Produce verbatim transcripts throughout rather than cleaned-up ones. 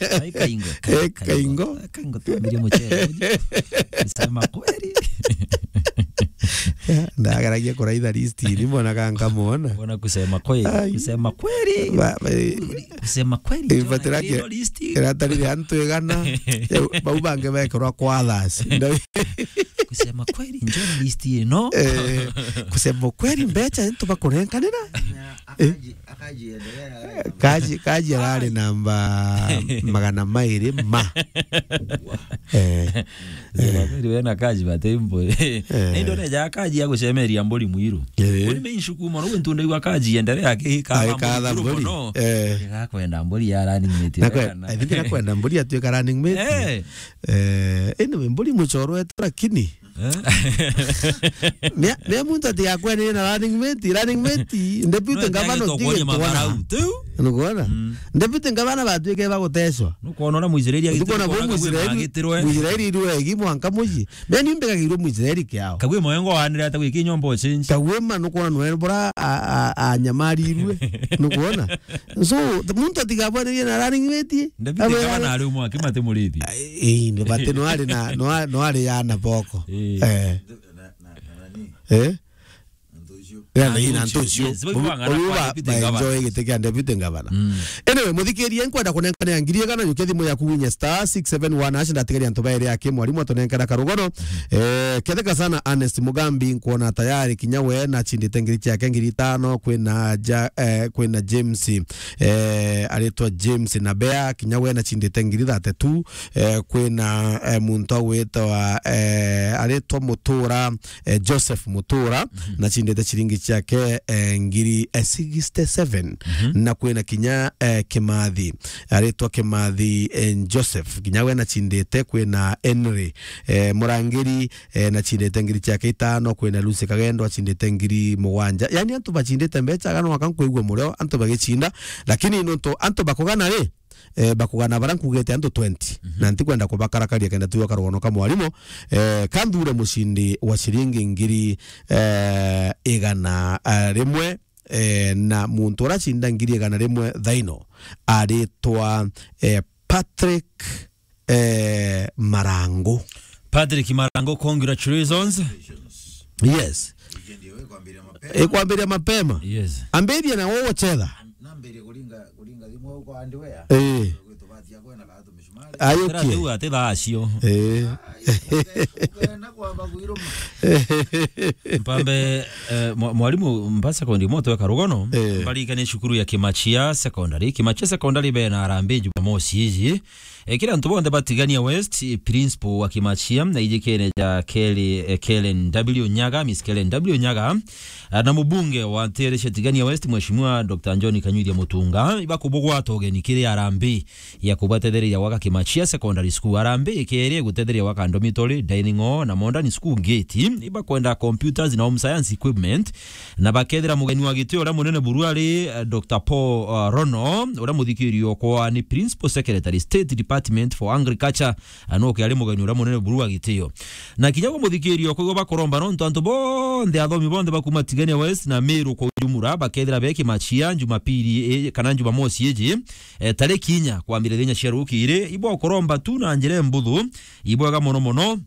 Ai, Kaingo. Eh, Kaingo. Kaingo. Kaingo, tuamirie mucere uji. Kusema kweli. Ndageragia kuraitha list ni mbona ka nkamwona. Mbona kusema kweli? Ai. Kusema kweli. Ba-, ba-, kusema kweli. Ibatirake. List. Iratarire antu igana. Bau bangi bekerwa kwa others. Kusema kweli, njoo na list ino. Eh, kusema kweli, mbecha nitubakurenkanira. Akaji-, akajiendelea. Kaji, Kaji arari namba magana mairi ma. Eh. Kusema kweli, we na Kaji batembo. Eh. Ndio neja Kaji ya gucemeria mburi mwiru. Eh. Uri me inshuku mono, gwentu ndaigua Kaji endelea akihika. Agikatha mburi. Mono. Eh. Igakwenda mburi ya running mate. Na kwe, I think nakwenda mburi atuika running mate. Eh. Eh, anyway, mburi muchoro wetu lakini. Eh? Ni, ni muntu atigakwene na running mate, running mate, deputy governor tigitwana. Nukwona? Mm. Deputy governor batuike bagutecwa. Nukwona ora Muisraeli agitiro. Nukwona bo Muisraeli, Muisraeli irwe egi mwanka muji. Meni mbegagirwo Muisraeli kiao. Kagwe moyo ngo anire ata gwiki nyombo change. Kagwe ma nukwona nwe bora a, a, a nyamarirwe. Nukwona? So, muntu atigabwanirie na running mate. David Abe- Gavana ari umwe akimate murithi. Eh, ni bate no ari na, no a-, no ari ya na boko. Eh. Eh. Eh? Ya na ina ntucio. Yes, yes, uyu ba, ba enjoy giti kia deputy governor. Mm. Anyway, muthikiria nkwenda kunenkana ya ngiri igana, yukia thimu yaku winye star six seven one hash, ndatigaria antu bairi aki mwarimu atunenkana karugono. Eh, ketheka sana Ernest Mugambi, nkwona tayari kinya we na chindite ngiri ciake ngiri itano, kwina ja, eh, kwina James, eh, aritwa James Nabea, kinya we na chindite ngiri thirty-two, eh, kwina, eh, muntu agwitwa, eh, aritwa Mutura, eh, Joseph Mutura, na chindite chiringi ciake, eh, ngiri, eh, sixty-seven, na kwina kinya, eh, Kimathi, aritwa Kimathi, eh, Joseph, kinya we na chindite, kwina Henry, eh, Murangiri, eh, na chindite ngiri ciake itano, kwina Lucy Kagendo achindite ngiri mugwanja. Yani antu bachindite mbecha, agano aka nkwigua murio antu bagichinda, lakini nontu antu bakugana ri, eh, bakugana bara nkugite antu twenty. Na ntikwenda kubakarakaria kenda tuga karugono ka mwarimu, eh, kanthure mucindi wa ciringi ngiri, eh, igana, eh, rimwe, eh, na muntu ura cinda ngiri igana rimwe thaino aritwa, eh, Patrick, eh, Marangu. Patrick Marangu, congratulations. Yes. Ikwambiria mapema. Yes. Ambiria na wewe uchetha. Nambirie kuringa, kuringa thimu huko hardware. Eh. Gwitu batia kwena ka tumishumari. Ayo. Tera kie. Tiu ati thaa cio. Eh. Ukena kwamba kuiruma. Mpambe, eh, mwa-, mwarimu mba secondary moto weka rugono. Eh. Mbarikane cukuru ya Kimachia Secondary. Kimachia Secondary bena harambee Jumamosi iji. Eh, kira antu bonthe ba Tigania West, eh, principal wa Kimachia, na ijikene ja Kelly, eh, Kellen W Nyaga, Miss Kellen W Nyaga, ah, na mubunge wa ntere cia Tigania West, Mheshimiwa Doctor John Kanyuithia Mutunga, ibakubugwata ugeni kiri harambee ya kubatethereria gwaka Kimachia Secondary School. Harambee ikeri gutetheria gwaka dormitory, dining hall, na modern school gate. Ibakwenda computers na home science equipment, na bakethira mugeni wa gitio uria munene buru ari, eh, Doctor Paul, eh, Rono, uria muthikirio kwa ni Principal Secretary, State Department for Agriculture, eh, nuke ari mugeni uria munene buru wa gitio. Na kinya gwa muthikirio kwa igo bakuromba nontu antu bonthe, athomi bonthe bakuma Tigania West na Meru kwa ujumura bakethira be Kimachia Jumapili, eh, kana Jumamosi iji, eh, tariki inya kwambiriria inya cia rukiri, ibo kuromba tu na njira mbuthu, ibwega mono mono.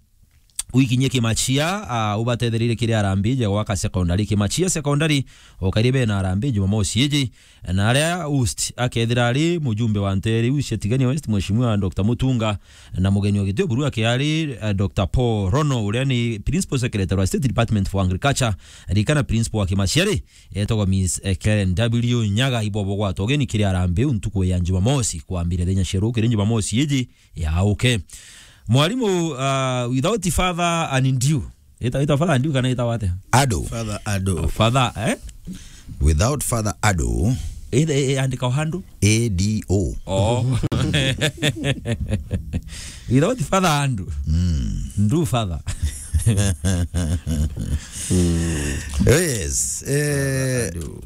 Wikinyie Kimachia, ah, ubatethereire kiri harambee ja gwaka secondary. Kimachia Secondary, ukairi bena harambee Jumamosi iji, na aria host akethira ari mujumbe wa ntere iu cia Tigania West, Mheshimiwa Doctor Mutunga, na mugeni wa gitio buru ake ari, eh, Doctor Paul Rono, uria ni Principal Secretary wa State Department for Agriculture, rikana principal wa Kimachia ri, etagwa Miss, eh, Karen W Nyaga, ibo bugwata ugeni kiri harambee iu ntuku ya Jumamosi, kwambiriria thaa inya cia rukiri Jumamosi iji, ya, okay. Mwarimu, uh, without father and due. Ita, ita father and due kana ita wate? Ado. Father Ado. Father, eh? Without father Ado. Ita, e, e, andika o handu? A D O. Oh. Without father and due. Mm. Ndu father. Yes. Eh, Ado.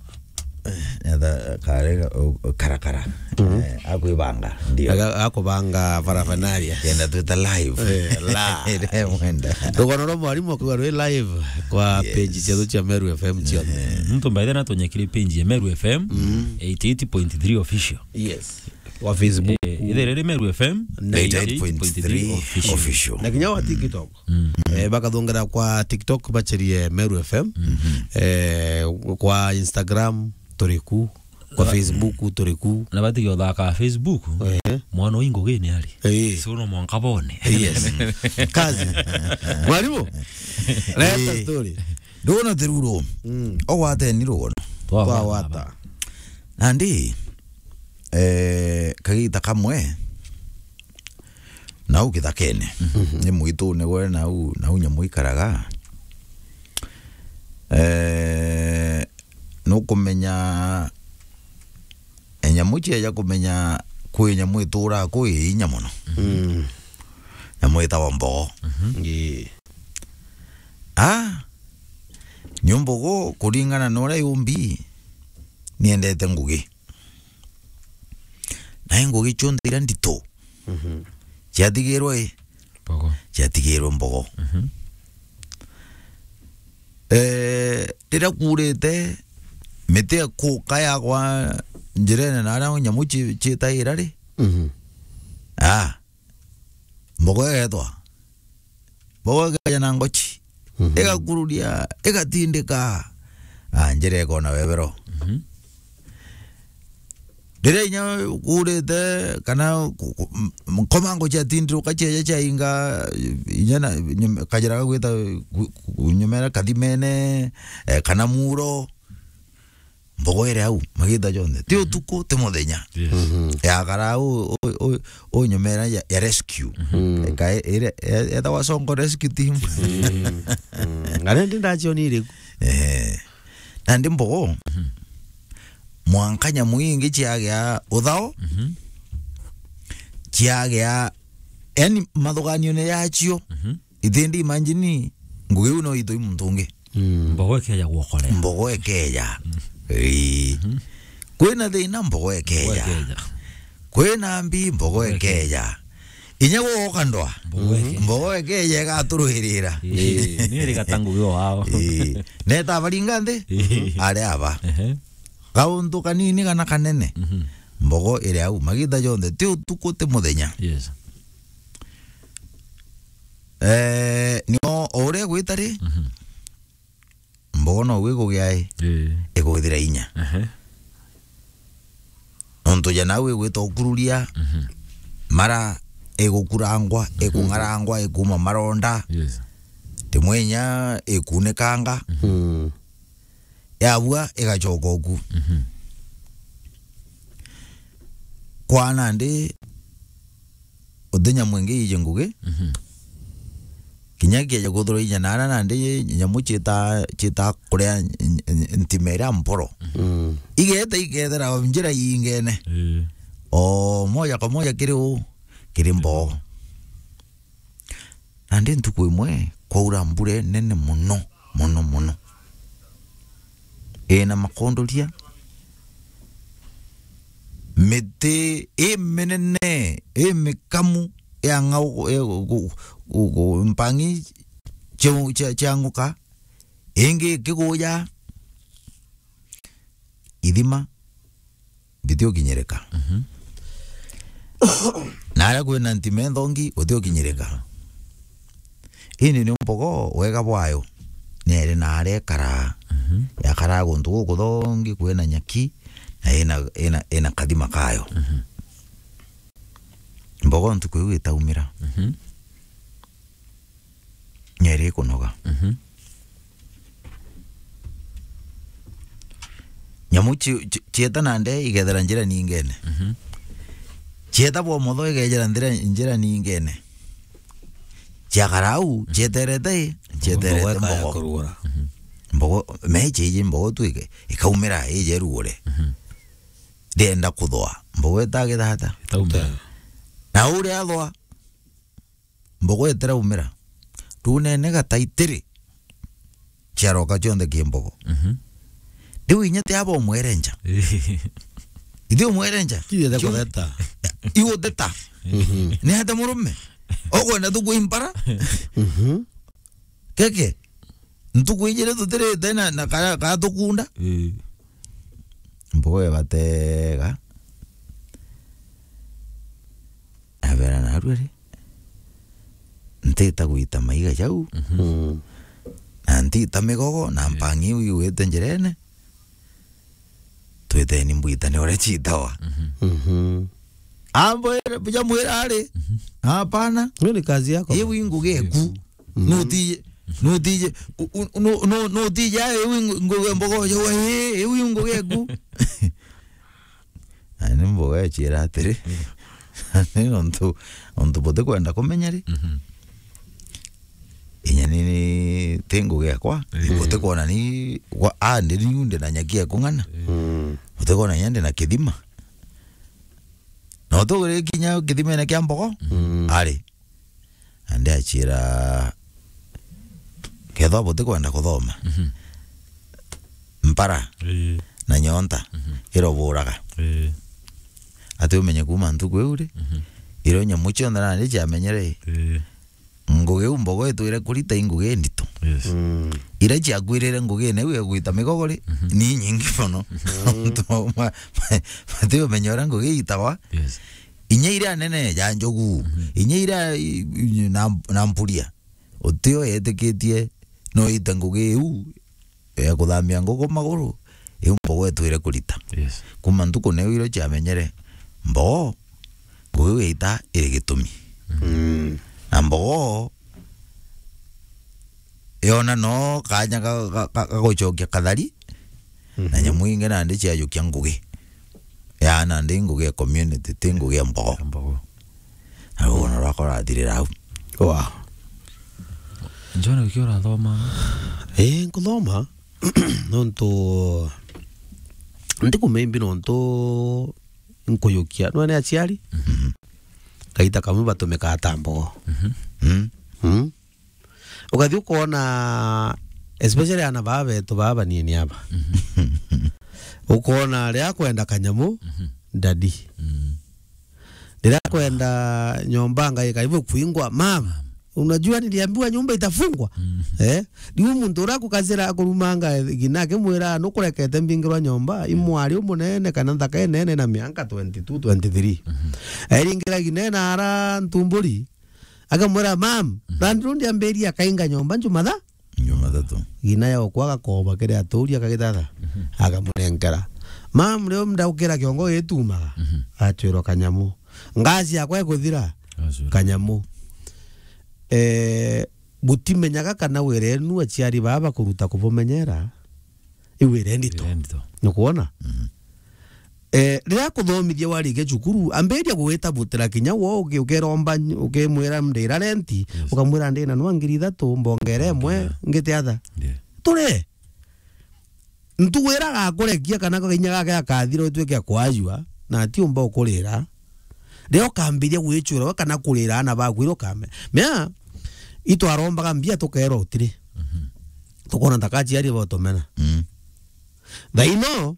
Etha kare, o, o, karakara. Mhm. Eh, akwibanga, ndio. Aga-, akubanga paraphernalia. Kenda twita live. Eh, la. Ire mwenda. Rugono rwa mwarimu akuga rwi live kwa, yes, page cietu cia Meru F M cionthe. Eh. Muntu mbaithe natunyekire page ya Meru F M, mm, eighty-eight point three official. Yes. Kwa Facebook. Eh, ithe riri Meru F M, na eighty-eight point three official. Official. Na kinya wa TikTok. Mm. Eh, bakathongera kwa TikTok bacherie Meru F M. Mm-hmm. Eh, kwa Instagram, turi ku. Kwa Facebook, turi ku. Na batige uthaka Facebook. Eh. Mwana uyu ngugini ari. Eh. So no mwanka bone. Yes. Kazi. Mwalimu. Leta story. Ndona tiruro. Mm. Ogwateni rugono. Twagwata. Twagwata. Nandi, eh, kagita kamwe, nau kithakene. Mhm. Ni mwitune gwe nau, nau nyamu ikaraga. Eh, nukumenya, eh, nyamu cieja kumenya kwi nyamu ituraa kwi inya mono. Mm. Nyamu itagwa mbogo. Mhm. Ii. Ah, ni mbogo kuringana na uria yumbi, niendete ngugi. Na i ngugi cionthe iria ndito, mhm, ciatigirwe i? Mbogo. Ciatigirwe mbogo. Mhm. Eh, riria kuurite, miti ikuka yagwa njirene na aria nyamu ci-, ciitaira ri? Mhm. Ah, mbogo igetwa. Mbogo ikeja na ngochi. Mhm. Igakururia, igatindika. Ah, njira ikona webero. Mhm. Riria inya kuurite, kana ku-, ku-, m-, nkomango ciatindiruka cieja ciainga, inya na, nyum-, kajira gagwita ku-, ku-, nyumera kathimene, eh, kana muro. Mbogo iri au magita jonthe, ti utuku, ti muthenya. Yes. Mhm. Yakara u, u, u, u nyumera ya, ya rescue. Mhm. Eka ire, e-, etagwa Songo Rescue Team. Mm. Mm. Ngare ndi ndacionire ku. Eh. Nandi mbogo, mhm, mwanka nyamu ingi ciagia uthao, mhm, ciagia, yani, mathuganione yacio. Mhm. Itindi imagine, ngugi iu no itui muntu ungi. Mm. Mbogo ikeja guokorea. Mbogo ikeja. Mm. Ii. Mhm. Kwina thina, mbogo ikeja. Mbogo ikeja. Kwina mbi, mbogo ikeja. Inya gwoka ndwa. Mbogo ikeja. Mbogo ikeja igaturuirira. Ii. Ni iri gatangu gio wao. Ii. Neta abaringa nthi? Ii. Ari aba. Ehe. Kauntu kanini kana kanene. Mhm. Mbogo iri au. Magita jonthe. Ti utuku, ti muthenya. Yes. Eh, nio o uria igwita ri, mhm, mbogo no gwikugia i, ii, igwithira inya. Ehe. Nontu ja nau igwita ukururia, mhm, mara igukurangwa, mhm, ikung'arangwa, ikuma maronda. Yes. Rimwe inya ikunikanga. Mhm. Mm. Yabua igacoka uku. Mhm. Kwa nandi uti nyamu ingi iji ngugi. Mhm. Kinya kieja kuthura inya nara nandi nyamu ciita, ciita kuria n-, n-, ntima iria mporo. Mm. Igeta ikethera njira iingene. Ii. O moja kwa moja kiri u, kiri mboo. Nandi ntuku imwe kwaura mbura inene mono, mono, mono. Ina makondoria, miti iminene, imikamu, ya ng'au, ya gu-, gu-, gu-, mpang'i cia, cia, ciang'uka, ingi ikiguja, ithima, bitiokinyirika. Mhm. Na aria kwina ntima inthongi, gutiokinyirika. Indi ni mbogo wega bwayo, nieri na aria ikaraa. Mhm. Yakaraa guntu gukuthongi, kwina nyaki, na ina, ina, ina kathima kayo. Mhm. Mbogo ntuku iu itaumira. Mhm. Nieri ikunoga. Mhm. Nyamu ci-, ci-, cieta na ndee igethera njira ningene. Mhm. Cieta bwa motho igejera njira, njira ningene. Ciakara au, cieterete i, cieterete mbogo. Mbogo ikaja kurugura. Mhm. Mbogo, meche iji mbogo tu ike-, ikaumira ije rugure. Mhm. Ndienda kuthwa. Mbogo itagitha ata? Itaumira. Na uria athwa, mbogo itiraumira. Riu nene gataitiri ciaroka cionthe ki mbogo. Mhm. Riu inya ti aba umwerenja. Ithi umwerenja. Kithete kutheta. Iguteta. Mhm. Ni ate murume? Okwenda tu kwimpara? Mhm. Keke. Ntuku ijiri tutirite na, na kara, kara tukunda. Ii. Mbogo ibatega. narua ri, ntita gwita maiga jau, Mm. na ntita migogo, na mpangi iu igwite njirene, twiteni mbwitane uria ciitawa. Mhm. Ambwira, buja mwira ari, hapana. Hiyo ni kazi yako. Iu i ngugi eku. Nutije, nutije, u-, u-, nu-, nu-, nutije, ai, iu i ngu-, ngugi mbogo jau, ai, iu i ngugi eku. Na ni mbogo eciira atiri, ni nontu, nontu butikwenda kumenya ri, Mhm. inya ni, ni ti ngugi ekwa, Ii. butikwona ni gwa, a, ndi niu ndi na nyaki ekung'ana. Mm. Butikwona inya ndi na kithima. Na utugire kinya kithimene kia mbogo, Mm. ari. Na ndiaciira, kethwa butikwenda kuthoma, Mhm. mpara Ii. na nyonta Mhm. iroburaga. Ii. Ati umenye kuuma ntuku iu ri, Mhm. irio nyamu cionthe nandi ciamenyere, Ii. ngugi iu mbogo itwire kurita i ngugi indito. Yes. Mm. Iria ciakwirire ngugine iu ya gwita migogo ri, Mhm. ni inyingi mono. Mm. Nontu ma-, ma-, mati umenya uria ngugi iitagwa. Yes. Inya iria nene ja njogu, Mhm. inya iria i-, i-, na, na mpuria, utio yetikitie no ite ngugi iu ya kuthambia nguku maguru, iu mbogo itwire kurita. Yes. Kuuma ntuku neu irio ciamenyere, mbogo, ngugi iu yaita iri gitumi. Mm. Na mbogo, yona no kanya ga, ga, ga, ga gucokia kathari, na Mhm. nyamu ingi nandi ciajukia ngugi. Ya nandi ngugi ya community, ti ngugi ya mbogo. Ya mbogo. Na rugano rwakwa rurathirira au. Wa. John, wiki urathoma? Ii, nkuthoma. Nontu, ndiku maybe nontu nkuyukia. Nwe ni aciari? Mhm. Kaita kamwe batumikaa ta mbogo. Mhm. Mm. Mm. Ukathi ukoona, especially aana baa betu baa banini aba. Mhm. Ukoona riria akwenda kanyamu, Mhm. daddy. Mm. Riria akwenda nyomba ngai karibu kuingwa, "Mama, unajua niliambiwa nyumba itafungwa?" Mm. Eh? Riu muntu uria akukazira akurumanga gina akimwira, "Nukurekete mbingirwa nyomba, imwari umunene kana nthaka inene na mianka twenty-two, twenty-three." Mhm. Airingira gina ena ara ntumburi, akamwira, "Mam, Mhm. Landlord ambiria akainga nyomba Jumatha." Jumathatu. Gina ya ukwa agakoba kiri aturi akagithatha. Mhm. Akamunenkera. Mam, riu ndaukira kiongo gitumaga. Mhm. Acwirwa kanyamu. Ngaci yakwa ikuthira. Acwirwa. Kanyamu. Eh, butimenyaga kana wira enu aciari baa bakuruta kubumenyera. Iu wira indito. Wira indito. Nukwona? Mhm. Eh, riria akuthomithia warikia cukuru, ambiria gugwita butira kinya wo uki-, ukeromba ny-, ukimwira ndira renti, Yes. ukamwira ndina nwa ngiri ithatu, mbongere imwe, Ngiri. ngite atha. Yeah. Turi. Ntugu iria agakurekia kana kainya gake akathira utuike akwajua, na atiumba ukurira. Riria ukambiria gwicura we kana kurira aana baku, iria ukame-, mea, itwarombaga mbia tukerwa utiri. Mhm. Tukona ntaka aciari botomena. Mm. Thaino,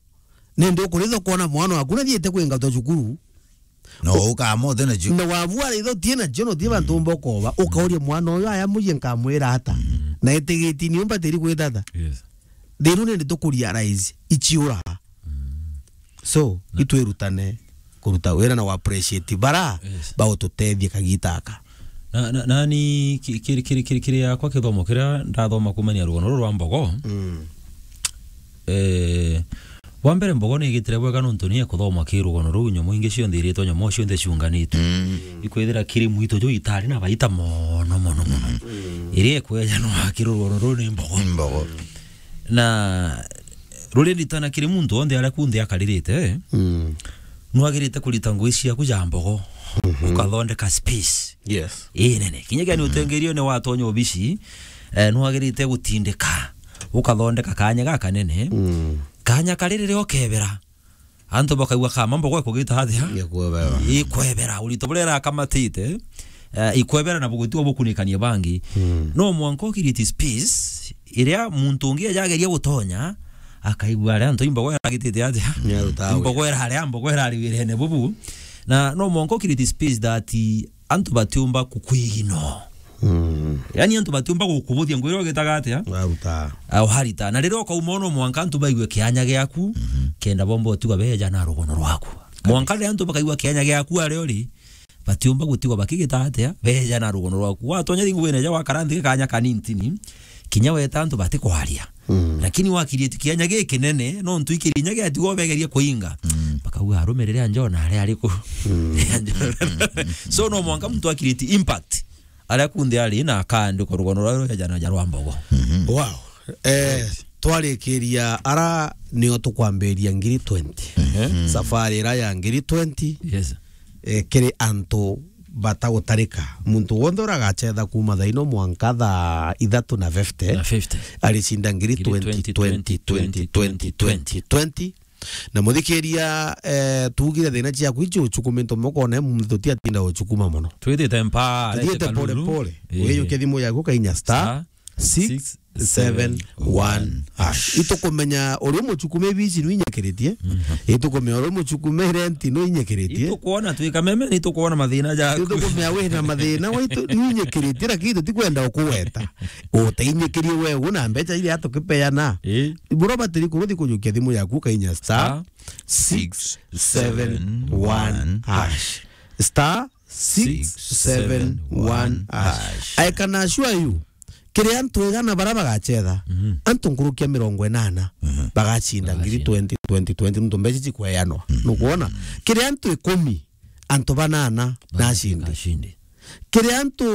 nindi ukuritha ukona mwana waku nathiite kwingatwa cukuru. No, ukamote nacio. Na wabua ritho utie nacio, no utie bantu umba ukoba. Ukauria mwana uyu aya mucii nkamwira ata? Mm. Na itigiti ni umbatiri gwita ata? Yes. Thiru nindi tukurealize, iciura. Mm. So, Na itwirutane kuruta wira na wa appreciate bara Yes. baututethia kagita aka. Na, na, nani ki-, kiri, kiri, kiri, kiri yakwa kithomo kiria ndathoma kumania rugano ruru rwa mbogo. Mm. Eh, wa mbere mbogo ni igitire bwega nontu ni ekuthoma ki rugano ruu nyomo ingi cionthe iritwa nyomo cionthe ciunganitwe. Mm. Ikwithira kiri mwito juu itari na baita mono, mono, mono. Mm. Iria ekwejanwa ki rugano ruu ni mbogo. Ni mbogo. Na ruria nditana kiri muntu wonthe aria kunthe akaririte, eh, Mm. nwagirite kurita ngui ciaku ja mbogo, Mhm. ukathondeka space Yes. inene. Kinya kiani Mhm. utengerio ni watonya obici, eh, nwagirite gutindika, ukathondeka kanya gakanene, Mm. kanya kari riria ukebera, antu bakaigua kama mbogo ikugita atia? Ikwebera. Ikwebera, urito buria irakamatite, eh, ikwebera na bugutigwa bukunikania bangi. Mm. No mwanka ukiriti space iria muntu ungi ejageria gutonya, akaigua aria antu imbogo iragitite atia? Niarutaga wira. Imbogo iraria, mbogo irari wirene bubu. Na no mwanka ukiriti space that antu batiumba kukwigino. Mm. Yani antu batiumba gukubuthia ngwira ugitaga atia? Waruta. Au harita. Na riria ukauma ono mwanka antu baigue kianya giaku, Mhm. kenda bomba utiga beja na rugono rwaku. Mwanka riria antu bakaigua kianya giaku aria uri, batiumba gutigwa bakigita atia, beja na rugono rwaku. Watonya thinguine ja wakara nthi kanya kanintini, kinya weta antu batikwaria. Mm. Lakini wakiriti kianya gikinene, no ntu ikiri inya giatigwa begeria kuinga. Mm. Bakauga, "Arumirire anjona aria ariku?" Mm. So, no mwanka muntu akiriti impact. Aria kunthe ari na akandikwa rugono rwa rujana ja rwa mbogo. Mhm. Wow. Eh, twarikiria ara nio tukwambiria ngiri twenty. Mhm. Safari ira ya ngiri twenty. Yes. Eh, kiri antu batagutarika. Muntu wonthe uragachetha kuma thaa ino mwanka thaa ithatu na fifty, na fifty. Aricinda ngiri twenty, twenty, twenty, twenty, twenty, twenty. Na muthikiria, eh, tuugire thina ciaku icio uchukumite moko na muntu tutiatinda uchukuma mono. Twithite mpaa, tuthiite pole pole. Eh. Wijukia thimu yaku kainya star six seven one hash. Itukumenya uri muchukume bici nu inyikiritie. Mhm. Itukumenya uri muchukume renti nu inyikiritie. Itukuona twi kameme, ni tukuona mathina jaku. Itukumenya wina mathina waitu nu inyikiritie, lakini tutikwenda ukuweta. Uteinyikirie wewe na mbeca iria tukipeana. Eh. Bro, batiri kuruthi kujukia thimu yaku kainya star six seven one hash. Star six seven one hash. I can assure you, kiri antu igana bara bagachetha, mhm, antu nkurukia mirongo inana, mhm, bagacinda ngiri twenty, twenty, twenty, nuntu mbeca cikweanwa. Mhm. Nukwona? Kiri antu ikumi, antu banana nacindi. Nacindi. Kiri antu,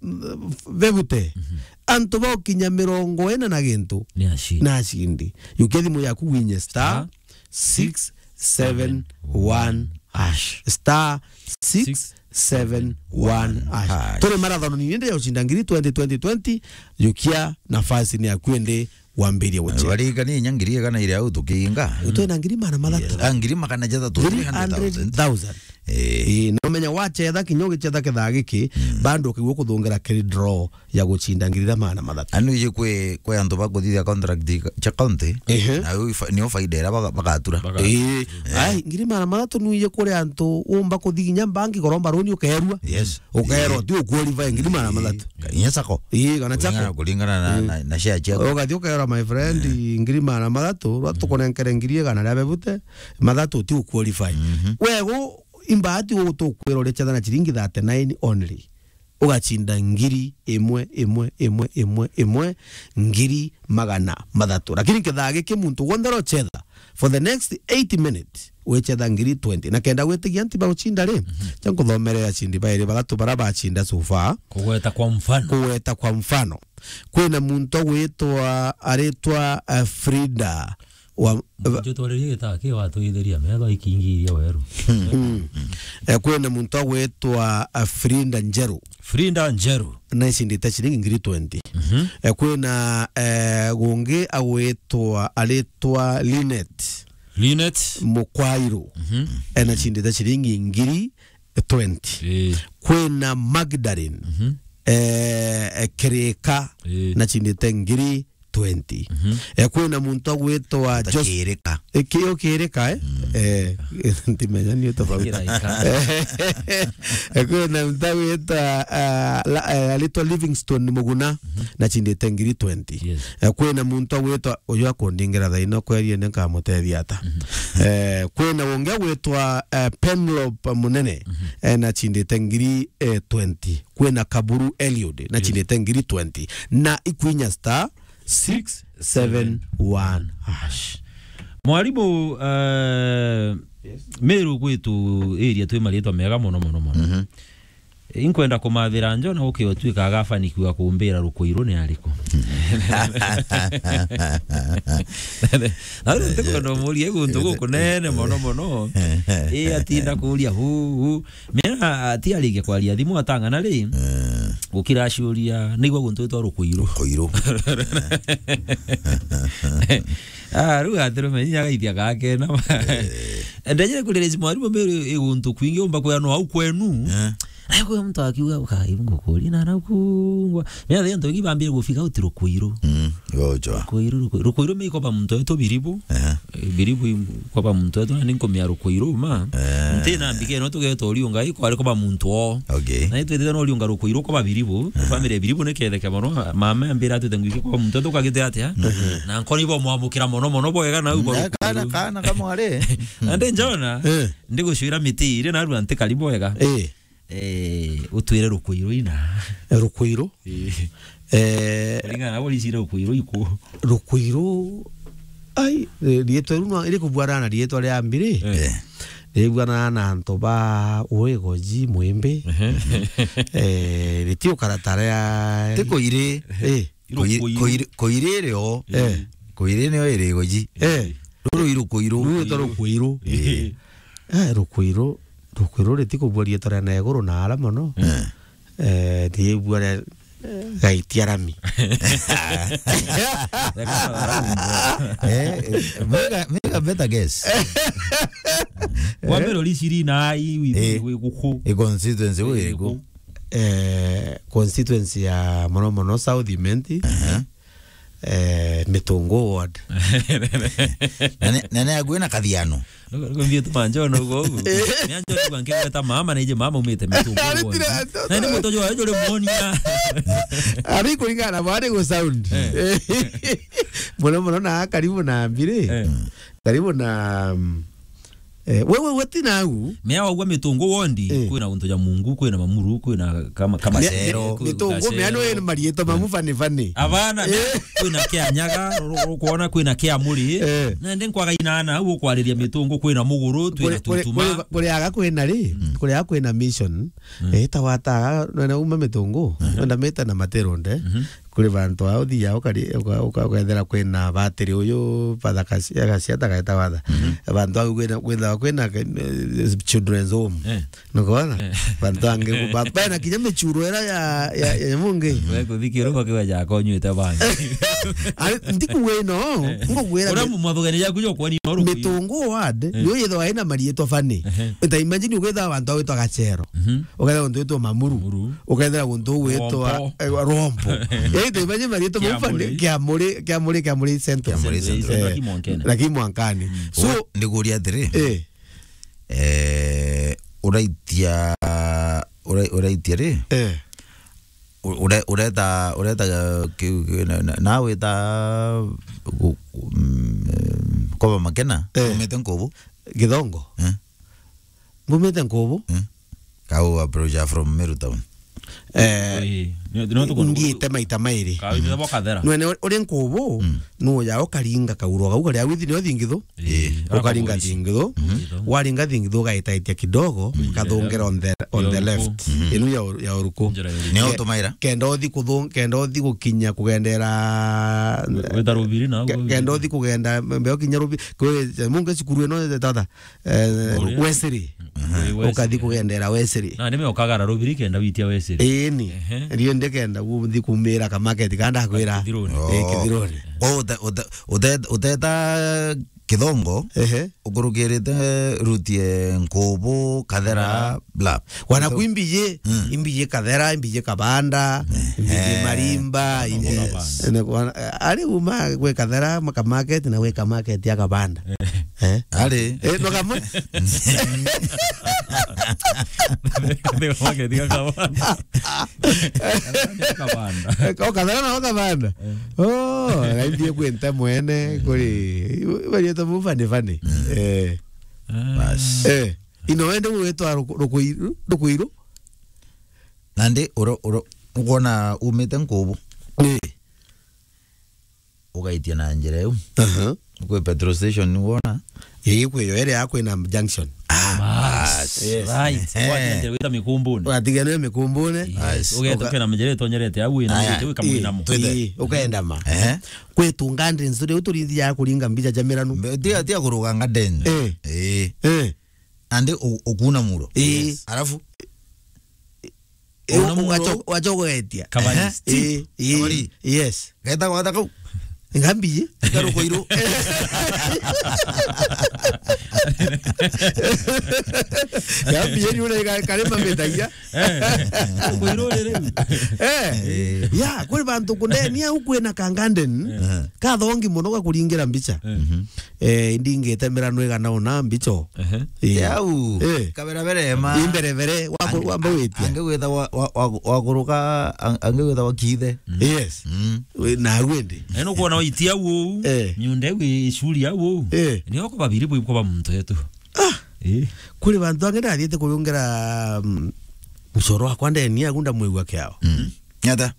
mm, bebute, mhm, antu baukinya mirongo ina na gintu, ni acindi. Nacindi. Yukia thimu yaku winye star six seven one hash. Star six seven one hash. Turi marathon nini ndio ucinda ngiri twenty, twenty, twenty, yukia nafasi ni yaku indi wambirie gucheza. Barigania inya ngiri igana iria au tukiinga. Twina ngiri magana mathatu. Yes. Ah, ngiri magana jathatu, three hundred thousand. Three hundred thousand. Eh. Eh, na umenya wachetha kinya ugichetha kithaa giki, mm, bado ukigua kuthungira kiri draw ya gucinda ngiri iria magana mathatu. Anu ije kwi, kwi antu bakuthithia contract cia county, ehe, na yo ifa-, niyo faida iria baga-, bagatura. Baga-, eh, eh, ai, ngiri magana mathatu nu ije kuri antu umba kuthi kinya mbangi kuromba runi ukerua. Yes. Ukerwa, eh, ti uqualify ngiri magana mathatu. Ka-, inya sako. Ii, kana sako. Kuringana, kuringana na, mm, na, na share ciaku. Ugathi ukerwa, my friend, eh, ngiri magana mathatu, rwa, mm, tukunenkere ngiri igana ria bebute, mathatu ti uqualify. Mhm. Wego, imbati utukwira uri chetha na chiringi thirty-nine only. Ugacinda ngiri imwe, imwe, imwe, imwe, imwe, ngiri magana mathatu. Lakini nkethaa giki muntu wonthe urochetha for the next eighty minutes, wichetha ngiri twenty. Na kenda gwitigia nti bagucinda ri, mhm, cha nkuthomere acindi bairi bathatu bara bacinda so far. Kugweta kwa mfano. Kugweta kwa mfano. Kwina muntu agwitwa, aritwa, eh, Frida wa Muntu twaririe gitaa ki watwithiria metho ikingiria weru. Mm. Eh, kwina muntu agwitwa, eh, Frida Njeru. Frida Njeru. Na icindite ciringi ngiri twenty. Mhm. Eh, kwina, eh, gungi agwitwa, aritwa Linet. Linet. Mukwairu. Mhm. Eh, na cindite ciringi ngiri twenty. Eh. Kwina Magdalene, mhm, eh, eh, Kirika, eh, na cindite ngiri twenty. Mhm. Eh, kwina muntu agwitwa Jos-, Kirika. Eh, ki-, o Kirika, eh? Mm. Eh, ndimenya ni utofauti. Kiraika. Eh, kwina muntu agwitwa, ah, la-, eh, aritwa Livingstone Muguna, mhm, na cindite ngiri twenty. Yes. Eh, kwina muntu agwitwa, uyu akundingira thaino kwerie ni nkamutethia ata. Mhm. Eh, kwina ungi agwitwa, eh, Penlop Munene, mhm, eh, na cindite ngiri, eh, twenty. Kwina Kaburu Eliud, na, yes, cindite ngiri twenty. Na ikwinya star six seven one hash. Mwarimu, eh, yes, Meru gwitu area twi maritwa mega mono, mono, mono. Mhm. Inkwenda kumathira njo na gukiotwika agafanikiwa kumbira rukuiru ni ariku. Na riu ntikwenda umurie guntu gukunene mono mono. Ii atinda kuria hu, hu. Mena atiarigia kwaria thimu atang'ana ri, eh, gukira aciuria, naigua guntu gwitwa rukuiru. Rukuiru. Ah, riu atirume inya gaithia gakena. Eh. Ndejire kuria resi mwarimu Meru i guntu kwingi umba kweanwa au kwenu. Eh. Naye kwi muntu akiuga, "Kai, ngukuri na na kungwa." Mea the antu ingi bambire gufika uti Rukuiru. Mm, gojo. Rukuiru, Rukuiru. Rukuiru mi ikoba muntu wetu Biribu. Eh. Eh, Biribu im-, koba muntu wetu, na ninkumia Rukuiru, ma. Eh. Nti na mbike no tugeto Oriunga, iko ari koba muntu o. Okay. Na itwitite no Oriunga Rukuiru koba Biribu. Eh. Family ya Biribu ni ketheke mono. Mama ambira atwite ngwiki koba muntu wetu kagite atia. Mhm. Na nkoni bo mwamukira mono mono bwega na ubo. Eh, kana, kana kamware. Na ndi njona, eh, ndigucwira miti iri na arua nti karibu wega. Eh. Eh, utwire Rukuiru ina. Rukuiru? Eh. Eh. Kulingana na uricire Rukuiru iku. Rukuiru, ai, eh, rietwa riu no, iri kubuana na rietwa ria mbiri. Eh. Eh. Ribuana na antu ba Uigoji, Mwimbi. Ehe. Eh, riti ukaratara ya Ti Kuiri. Eh. Kuiri, Rukuiru. Kuiri, Kuiri rio. Eh. Kuiri nio iri Igoji. Eh. Ruru iru Kuiru. Ruru itwa Rukuiru. Eh. Eh, Rukuiru. Rukuiru riti kubua rietwa ria na iguru na ara mono. Eh. Eh, riibua ria, eh, Gaitia Rami. Eh, eh, make a, make a better guess. Wambere uriciri na ai wi-, eh, wi guku. I constituency wi iriku? Eh, constituency ya mono mono South Imenti. Aha. Eh, Mitungu ward. Na ne, na ne agwina Kathiano. Ndio tu manjo no go. Ni anjo ni banke ta mama na ije mama umite Mitungu ward. Ari tira, na ni mutojo wa jore muonia. Ari kuringana na bari go sound. Eh. Mono mono na karibu na mbiri. Eh. Karibu na, mm, eh, wewe wati nau. Mea wagua Mitungu wondi, eh, kwina untu ja Mungu, kwina Mamuru, kwina kama, kama Mea-, Cero, Mitungu, mea no ene marietwa mamu fani fani. Abana, eh, kwina kia Nyaga, ru-, ru-, kwona kwina kia Muri. Eh. Na ndi nkwaga inana, au ukwariria Mitungu, kwina Muguru, twina Kuri, kuri, Tutuma. Kuri, kuri aga kwina ri, mm, kuri aga kwina mission. Mm. Eh, tawata, nona uma Mitungu, mhm, nona meta na materonde. Mhm. Kuri bantu ao thia ukari-, uka-, uka-, ukethira kwina batiri uyu, Father Kasi-, Gasiata gaeta watha. Mhm. Bantu au kwina, kwina, kwina, eh, children's home. Eh. Nukona? Eh. Bantu angi ku-, ba-, bena kinya michuro era ya, ya, ya mungi. We kuthikira uko kiwa ja konyuite bangi. Ari, ndiku wino, eh, ngugwira ura mi-, mu-, mwathugani jaku jo kwani no rukuyu. Mitungu ward, eh, yo yitho aina marietwa fani. Ehe. Uta imagine ugwetha bantu awitwa Gachero. Mhm. Ukethira guntu gwitwa Mamuru. Mamuru. Ukethira guntu gwitwa, Rombo. Eh, Rombo. Yaani, tuimagine marietwa Kiamuri. Mufande, Kiamuri, Kiamuri, Kiamuri Central. Kiamuri Central. Eh, lakini Mwankene. Lakini Mwankani. Mm. So, we, ndikuria atiri, eh, eh, uraitia, ura-, uraitia ri? Eh. U-, ure-, ureta, ureta, uh, ki-, ki-, na, na, na wita gu-, mm, eh, koba Makena, eh, umite Nkubu? Githongo. Eh. Mbumite Nkubu. Eh? Kau approach from Meru Town. Eh, ii, ni, ni tukundu ngiite maita mairi. Kau ithe bo Kathera. Nwene uri, uri Nkubu, mm, nuja ukaringa kauro kau karia withi nio thingithu. Ii, ukaringa thingithu. Mhm. Waringa thingithu ugaitaitia kidogo, mm, kathungera on the, on the left. Mhm. Inu ya ur-, ya uruku. Njira ya uruku. Nio ke-, utumaira. Kenda uthi kuthung-, kenda uthi gukinya kugendera. Weta rubiri na ke-, kenda uthi kugenda mbeo kinya rubi-, kwi, munge cukuru ino tata. Eh, Uria? Wesley. Mhm. Wesley. Ukathi kugendera Wesley. Na nime ukagara rubiri kenda witia Wesley. Ii ni. Ehe. Rio ndikenda guthi kumira ka market kanda kwira. Kithiruni. Eh, oh. Kithiruni. Kwa uta-, uta-, uta-, uteta Kithongo, ehe, ukurukirite rutie Nkubu, Kathera, ah, bla. Wana ku imbiji, mm, imbiji Kathera, imbiji Kabanda, ehe, imbiji Marimba, imbiji, yes, ene kwa-, ari uma gwe Kathera, maka market na gwe ka market ya Kabanda. Eh? Ari. Eh, no kamwe? Kathera market ya Kabanda. Kabanda. Eh, ko Kathera na Kabanda. Eh. Oh, raithi kwenta mwene, kuri, bari to mu fani fani. Mm. Eh. Ah. Bas. Eh. Ino wende gwitwa ruku-, rukuiru, rukuiru? Nandi uro, uro, ukwona umite Nkubu. Ni. Ugaitia na njira iu. Aha. Kwi petrol station ni wona? Ii, kwi yo iri ya kwina junction. Ah, bas. Yes. Right. Eh. Watigana wita Mikumbuni. Watigana Mikumbuni. Yes. Bas. Ugeta uka- kena njira itonyerete au ina. Aya. Ii, twite. Ii, ukaenda ma. Eh. Kwi tu gardens turi uturinthi ya kuringa mbica ja miranu. Mbe-, tia, tia kuruga garden. Eh. Eh. Eh. Nandi u-, ukuna muro. Ii. Yes. Alafu? Ii, una muro. Wacho-, wachogoetia. Kabari. Ehe. Ii, ii. Kabari. Yes. Geta gwata kau. Ngambi. Ikaruko iru. Gambi yenu ule ka-, karima metagia. Eh. Kwirurire. Eh. Eh. Ya, kuri bantu kundenia huku ena kanganden. Eh. Kathongi muno gakuringira mbicha. Eh. Mhm. Eh, indi ngitemera nwega naona mbicho. Ehe. Eh. Yau. Eh. Kaberabere ma. Imberebere, wako, Ang-, wamba witia. Angi gwitha wa, wa, wa, waguruka, ang-, angi gwitha wa kithe. Mm. Yes. Mm. We, na wendi. Eh, nukwona waitia uu. Eh. Miunda iu icuri au uu. Eh. Ni oko babiri bwi kwa muntu wetu. Ah. Eh. Kuri bantu angi ndathiite kuyungira, mm, mucoro wakwa ndeni agu ndamwigua kiao. Mm. Nyata.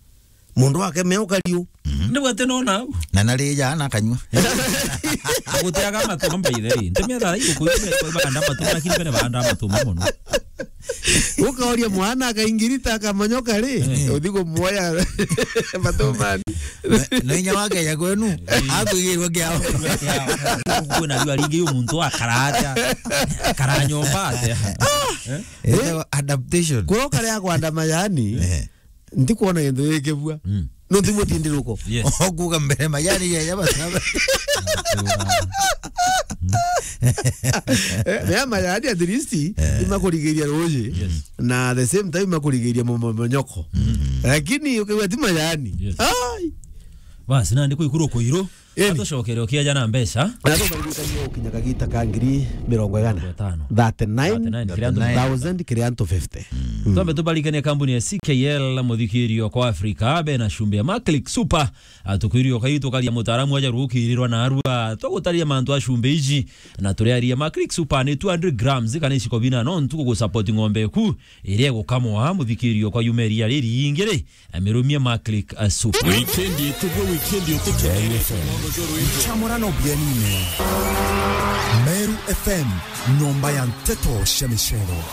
Mundu wake meo kariu. Mhm. Nigwa ati nona au. Na narija na kanyua. Guteaga matuma mbaithe ri. Ntemia thara iu kuyu baganda matuma, lakini bene baganda matuma mono. Ukaoria mwana akaingirita akamonyoka ri, eh, uthi kumwoya matumani. Na, na inya wake ya kwenu, eh, akwigirwa kiao. Kwina riu aringi uyu muntu akara atia? Akara nyomba atia? Eh? Etawa adaptation. Kuroka ria kwandama yani. Eh. Ntikwona gintu gikibua. Mm. No ntimutindi ruko. Yes. Okuga mbere majani ya yaba saba. Eh, mea majani at least, eh, imakurigiria ruji. Yes. Na at the same time imakurigiria mo-, mo-, monyoko. Mm. Lakini ukiwa ti majani. Yes. Ai. Basi, nandi kwikuru kuiru. Eni. Atucokere ukiaja na mbeca. Na tumaririkanie ukinya kagita ka ngiri mirongo igana. Mirongo itano. Thirty-nine thousand kiri antu fifty. Mm. Twambe tubarikanie kambuni ya C K L, muthikirio kwa Afrika, be na cumbi ya Maclick Super. Atukwirio kai tukaria mutaaramu aja rukirirwa na arua. Twagutaria mantu a cumbi iji, na turiaria Maclick Super ni two hundred grams, kana iciko bina no ntuku gusupport ng'ombe eku, iria igukamwa, muthikirio kwa yumeria riri ingiri. Amirumia Maclick, uh, Super. Wikendi itugwe, wikendi utuke. Meru F M. Chamurano bienine. Meru F M, nyomba ya nteto cia micero.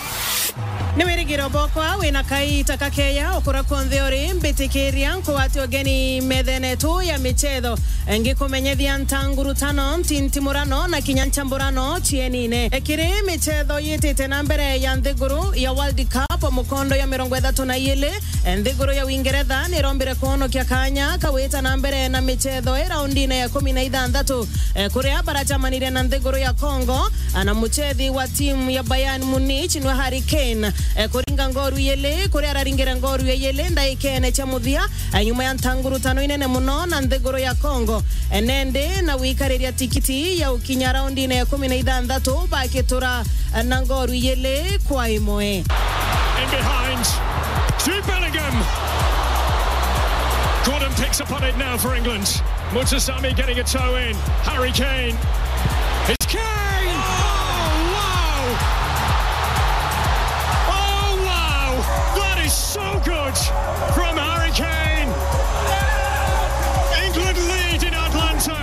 Ni wirigiro bokwa wina kaita kakeya ukura kwonthe uri, mbitikiria nkugwate ugeni methene tu ya michetho. Ngikumenyethia ntangurutano, ntintimurano na kinya nchamburano cienine. Ekiri michetho yitite na mbere ya nthiguru ya World Cup, mukondo ya mirongo ithatu na iili, nthiguru ya Uingeretha nirombire kwonokia kanya kawita na mbere na michetho i raundine ya ikumi na ithanthatu, eh, kuria barachamanirie na nthiguru ya Congo, na muchethi wa timu ya Bayern Munich nwe Harry Kane, eh, kuringa ngoru iili, kuria araringire ngoru ya iili ndaikene cia muthia, eh, nyuma ya ntangurutano inene muno na nthiguru ya Congo. Eh, nende na gwikariria tikiti ya ukinya raundine ya ikumi na ithanthatu bakitura, eh, na ngoru iili kwa imwe. In behind, Jude Bellingham. Gordon picks up on it now for England. Mutasami getting a toe in. Harry Kane. It's Kane! Oh, wow! Oh, wow! That is so good from Harry Kane. England lead in Atlanta.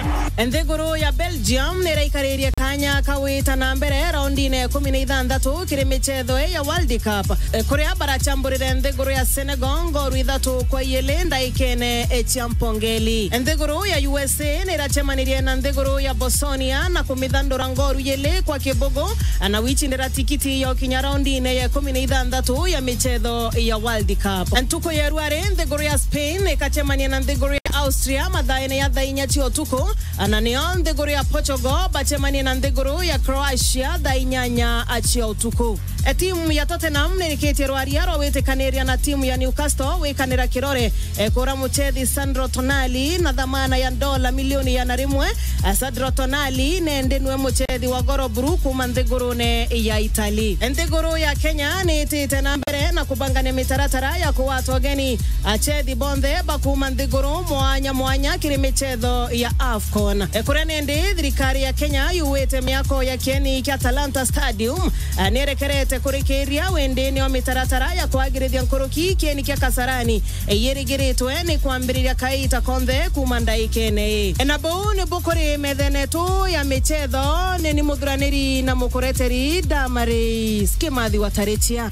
Nthiguru ya Belgium niraikaririe kanya kawita na mbere raundine ya ikumi na ithanthatu kiri michetho ya World Cup, eh, kuria barachamburire nthiguru ya Senegal ngoru ithatu kwa iili ndaikene, eh, cia mpongeli. Nthiguru ya U S A nirachemanirie na nthiguru ya Bosnia na kumithandura ngoru iili kwa kibugu, na wichindira tikiti ya ukinya raundine ya ikumi na ithanthatu ya michetho ya World Cup. Ntuku ya rwari, nthiguru ya Spain ikachemania na nthiguru ya Austria mathaene ya thaa inya cia utuku, na nio nthiguru ya Portugal bachemanie na nthiguru ya Croatia thaa inyanya cia utuku. E, timu ya Tottenham nirikitie rwaria rwa gwitikaniria na timu ya Newcastle wikanira kirore, e, kura muchethi Sandro Tonali na thamana ya ndola milioni igana rimwe. E, Sandro Tonali nende nwe muchethi wa Goro Buru kuma nthigurune ya Italy. Nthiguru ya Kenya niitite na mbere na kubangania mitaratara ya kugwata ugeni achethi bonthe ba kuma nthiguru mwanya mwanya kiri michetho ya AFCON. E, kuria nindi thirikari ya Kenya yuwite miako ya kieni kia Talanta Stadium, e, nierekerete kurikiria windini wa mitaratara ya kwagirithia nkuruki kieni kia Kasarani, e, yirigiritwe ni kwambiriria kaita konthe kuma ndaikene ii. E, na buu ni bukuri methene tu ya michetho, ni ni muthuraniri na mukureteri Damaris Kimathi wa Tarichia.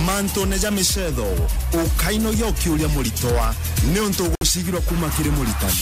Mantune ja michetho, ukainogia ukiuria muritwa, niuntu ugucigirwa kuma kiri muritani.